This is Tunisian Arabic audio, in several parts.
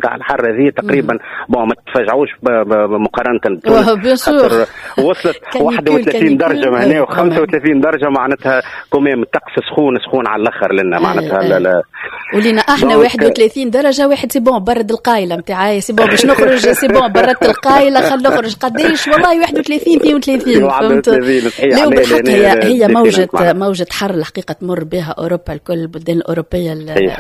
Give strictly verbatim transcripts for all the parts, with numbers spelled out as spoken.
نتاع الحر هذه تقريبا. bon، ما تفاجعوش مقارنة بتونس، خاطر وصلت واحد وثلاثين درجه هنا وخمسة وثلاثين درجه، معناتها quand même الطقس سخون سخون على الاخر لنا معناتها. لا لا، ولينا احنا واحد وثلاثين درجه واحد c'est bon برد القايله نتاعي، c'est bon باش نخرج، c'est bon بردت القايله خل نخرج. قداش والله واحد وثلاثين اثنين وثلاثين، فهمت؟ لا بالحق هي هي موجه موجه حر الحقيقة تمر بها اوروبا الكل، البلدان الاوروبية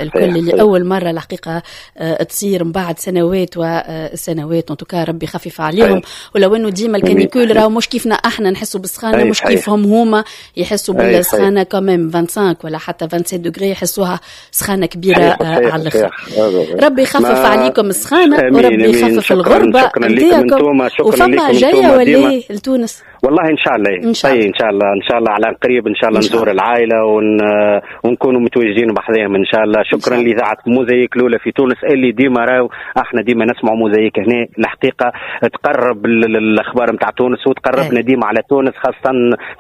الكل، اللي اول مرة الحقيقة آه، تصير من بعد سنوات وسنوات. en tout cas ربي خفف عليهم، ولو انه ديما ال canicule راهو مش كيفنا احنا نحسوا بالسخانه، مش كيفهم هما يحسوا بالسخانه. quand même خمسة وعشرين ولا حتى سبعة وعشرين degrés يحسوها سخانه كبيرة آه، على الاخر. ربي يخفف عليكم السخانه وربي يخفف الغربة نتاعكم. وفما جاية ولا لتونس؟ والله ان شاء الله، ان شاء الله، ان شاء الله، ان شاء الله على قريب ان شاء الله نزور العائلة ون... ونكونوا متواجدين بحذاهم ان شاء الله. شكرا لاذاعة موزايك الاولى في تونس، اللي ديما راهو احنا ديما نسمعوا موزايك هنا، الحقيقة تقرب الاخبار نتاع تونس وتقربنا ديما على تونس، خاصة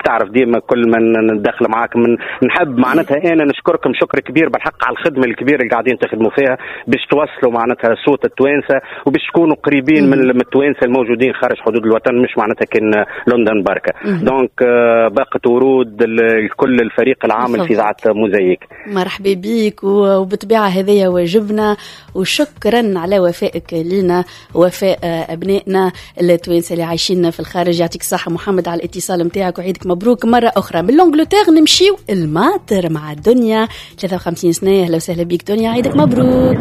تعرف ديما كل ما ندخل معاك من نحب معناتها انا نشكركم شكر كبير بالحق على الخدمة الكبيرة اللي قاعدين تخدموا فيها باش توصلوا معناتها صوت التوانسة وباش تكونوا قريبين من التوانسة الموجودين خارج حدود الوطن، مش معناتها كان لندن بركه. donc آه، باقة ورود لكل الفريق العامل في اذاعة موزايك. مرحبا بك، وبالطبيعه هذايا واجبنا، وشكرا على وفائك لنا، وفاء ابنائنا التوانسة اللي عايشين في الخارج. يعطيك الصحة محمد على الاتصال نتاعك وعيدك مبروك مرة اخرى. من l'Angleterre نمشيو الماطر مع الدنيا، ثلاثة وخمسين سنه. اهلا وسهلا بك دنيا، عيدك مبروك.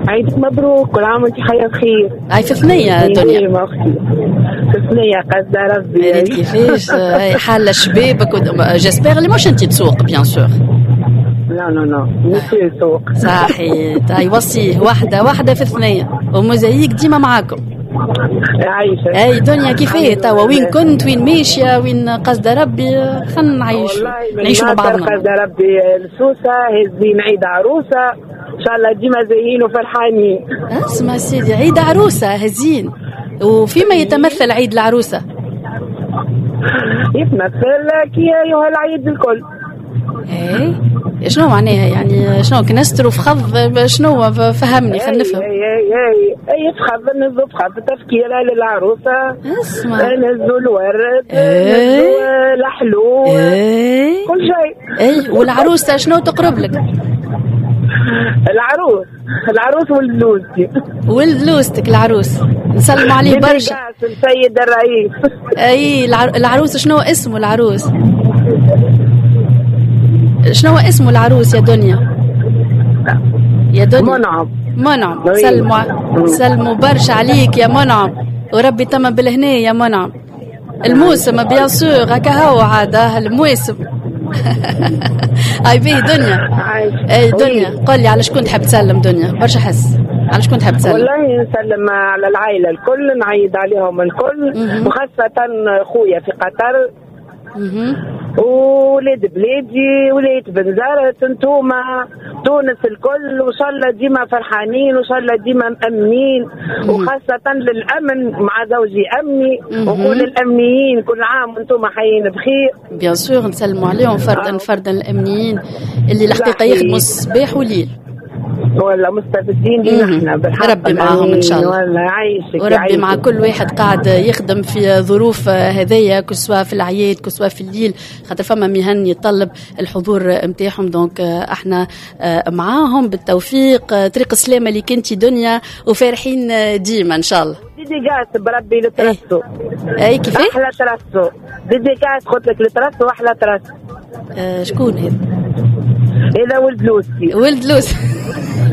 عيدك مبروك، كل عام وانت حية بخير. هاي في ثنية دنيا؟ اختي في ثنية قصد ربي. ريت كيفاش حالة شبابك، j'espère اللي مش انت تسوق bien sûr. لا لا لا، مش يسوق. صحيح، يوصيه واحدة واحدة في الثنية وموزايك ديما معاكم. عايشة. اي دنيا، كيفاه توا؟ وين كنت؟ وين ماشية؟ وين قصد ربي؟ خلينا نعيش نعيشوا مع بعضنا. قصد ربي السوسة، هزين عيد عروسة، ان شاء الله ديما زيين وفرحانين. اسمع سيدي، عيد عروسة هزين، وفيما يتمثل عيد العروسة؟ يتمثل كي أيها العيد الكل. ايه، شنو معناها؟ يعني شنو كنسترو فخض؟ شنو؟ فهمني خلينا نفهم. اي اي اي اي فخض، نهزو فخض تفكيره للعروسه. اسمع. نهزو الورد. إيه. نهزو الحلو. ايه. كل شيء. اي، والعروسه شنو تقرب لك؟ العروس العروس ولد لوزتي. ولد لوزتك العروس، نسلموا عليه برشا. السيد الرئيس. اي، العروس شنو اسمه؟ العروس شنو اسمه العروس يا دنيا؟ يا دنيا؟ منعم. منعم، سلموا سلموا برشا عليك يا منعم، وربي تمام بالهنا يا منعم. الموسم bien sûr هكا هو عاد الموسم. اي بيه دنيا، اي دنيا، قل لي على شكون تحب تسلم دنيا؟ برشا حس، على شكون تحب تسلم؟ والله نسلم على العائلة الكل، نعيد عليهم الكل، وخاصة خويا في قطر ولاد بلادي، ولاية بنزرت، انتوما تونس الكل، وان شاء الله ديما فرحانين وان شاء الله ديما مأمنين، وخاصة للأمن، مع زوجي أمني، وكل الأمنيين كل عام وانتم حيين بخير. bien sûr، نسلموا عليهم فردا فردا، الأمنيين اللي الحقيقة يخدموا الصباح وليل. ولا مستفيدين لينا احنا بالحق. ربي معاهم ان شاء الله. والله عايشك. وربي مع كل واحد قاعد يخدم في ظروف هذيا، que ce soit في العياد que ce soit في الليل، خاطر فما مهن يتطلب الحضور نتاعهم، donc احنا معاهم. بالتوفيق، طريق السلامة اللي كنتي دنيا، وفارحين ديما ان شاء الله. dédicace بربي لترسو. اي، كيفاه؟ احلى ترسو، dédicace قلت لك لترسو، احلى ترسو. آه شكون هذا؟ هذا ولد لوسي. ولد لوسي.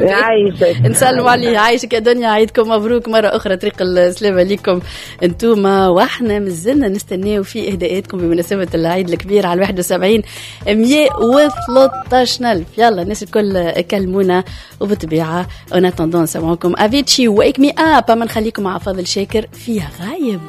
عايشك. نسلموا عليه. عايشك يا دنيا، عيدكم مبروك مرة أخرى، طريق السلامة لكم انتوما. واحنا مازلنا نستناو في إهداءاتكم بمناسبة العيد الكبير على واحد وسبعين مية وثلاثطاش ألف. يلا الناس الكل كلمونا، وبالطبيعة en attendant نسمعوكم افيتشي Wake Me Up. اما نخليكم مع فاضل شاكر فيها غايب.